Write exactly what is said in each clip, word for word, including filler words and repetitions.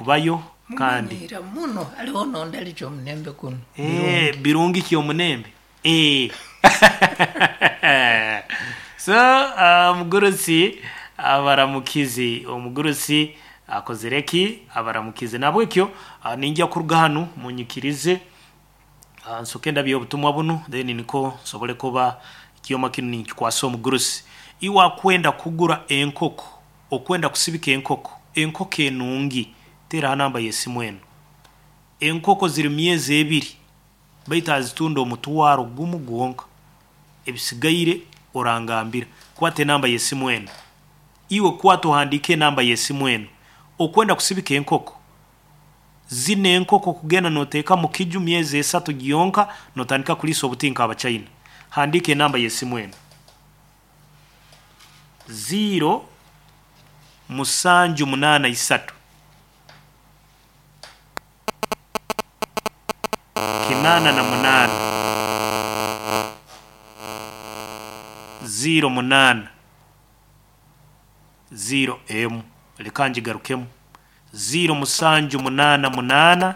Kubayo kandi Mumanyiira muno haliho nonda kyomunembe kuno. Eh, birungi kyomunembe. Eh. So uh, omugurusi abaramukizi, omugurusi akozere ki, abaramukizi. Nabwekyo uh, ninjya kuruga hanu munyikirize uh, nsoke ndabye obutumwa bunu, then niko nsobole kuba ekyoma kinu ninkikwasa omugurusi. Iwe akwenda kugura enkoko, okwenda kusibika enkoko, enkoko enungi, teraho namba y'esimu enu. Enkoko ziri myezi ebiri, baitu azitunda omutwaro gumu gwonka, ebisigaire orangambira. Kwata enamba y'esimu enu, iwe kwata ohandiike enamba y'esimu enu. Okwenda kusibika enkoko, zino enkoko kugenda noteeka mu kiju myezi esatu gyonka, notandika kuliisa obuti nk'Abachina. Handiika enamba y'esimu enu: ziro musanju munaana isatu kinaana na munaana ziro munaana ziro emu. Leka ngigarukemu: ziro musanju munaana munaana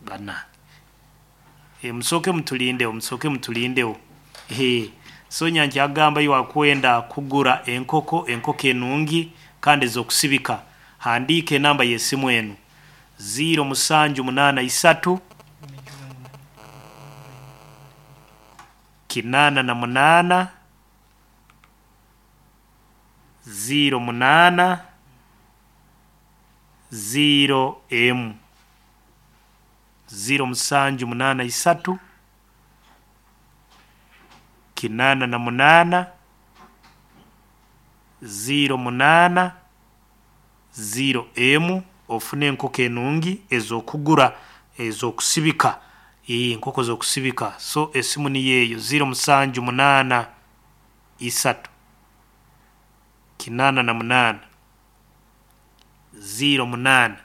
bana. E, musooke mutulindewo, musooke mutulindewo. E, sonya nkyagamba, iwe akwenda kugura enkoko, enkoko enungi kandi ez'okusibika, handiika enamba y'esimu enu: ziro musanju munaana isatu kinaana na munaana ziro munaana ziro emu, ziro musanju munaana isatu kinaana na munaana ziro munaana ziro emu. Ofune enkoko enungi ez'okugura, ez'okusibika, enkoko z'okusibika. So esimu niyo eyo: ziro musanju munaana isatu kinaana na munaana ziro munaana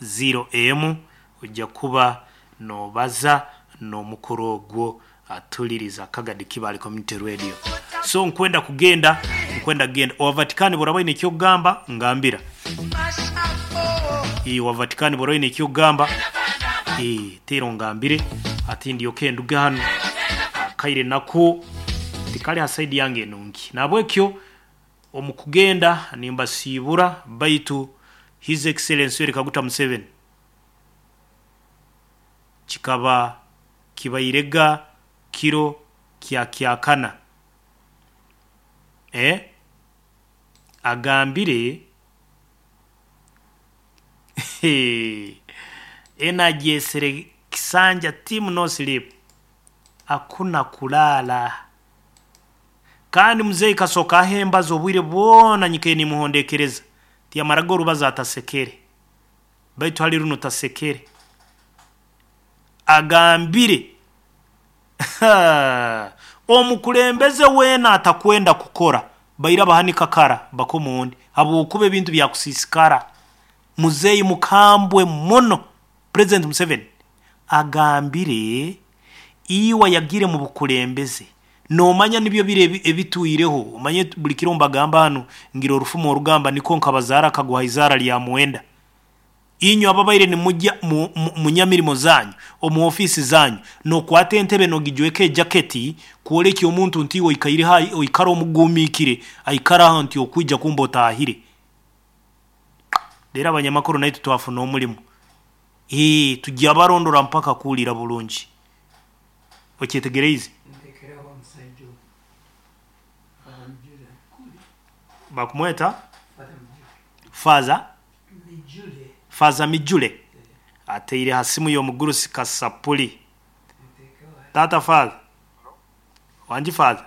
ziro emu. Ojja kuba nobaza n'omukuru ogwo atuliriza Kagadi Kibale Community Radio. So nkwenda kugenda, nkwenda kugenda owa Vatikani. Boraba oine ekyokugamba, ngambira. Ee, wa Vatikani, bora oine ekyokugamba, ee, teera ongambire ati ndyoke nduge hanu. Akaire nako tikali ha side yange enungi. Nabwekyo omu kugenda nimbasiibura, baitu His Excellency Yoweri Kaguta Museveni kikaba kibairega kiro kya kyakana, eh? Agambire enagyesere kisanja team no sleep, hakuna kulala. Kandi muzeyi kasoka ahembaza obwire bwona nyikaire nimuhondekereza, tiyamaraga orubazo atasekere, baitu hali runo tasekere. Agambire omukulembeze weena atakwenda kukora baira bahanika kara bakomundi, habwokuba ebintu byakusiisikara. Muzeyi mukambwe muno, President Museveni agambire, iwe yagire mu bukulembeze nomanya nibyo biri ebitwireho. Omanye buli kiro mbagamba hanu ngira orufumo orugamba niko nkabazaara akaguha izaara lya mwenda. Inywe ababaire nimujya mu, mu, munyamirimo zanyu, omu ofiisi zanyu, nokwata entebe nogijweka ejaketi kwoleka omuntu nti iwe oikaire hai, oikara omugumiikire aikaraho nti okwija kumba otahire. Rero abanyamakuru naitwe twafuna omulimu, ee, tujya barondora mpaka kuwulira bulungi. Okyetegereize? Ntekeraho omusajja ogu. Father Mujule. Bakumweta Father Mujule. Faza Mijule. Faza Mijule ateire ha simu y'omugurusi Kasapuli. Ntekeho. Tata Faza wangi, Faza,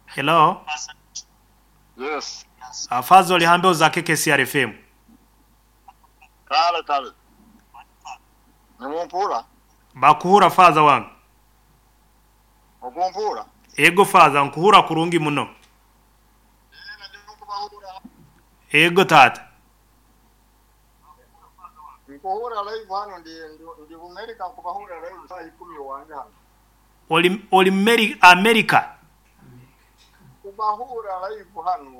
hello. Yes. Uh, Faza, oli hambe za K K C R F M. Kale kale. Nimumpura? Bakuhura, Faza wange. Okumpura? Ego Faza, nkuhura kurungi muno. Ego tata. Nkuhura live hano, ndi ndi- ndi America, nkubahura live saa ikumi wange hano. Oli oli Meri- America? Kubahura live hano.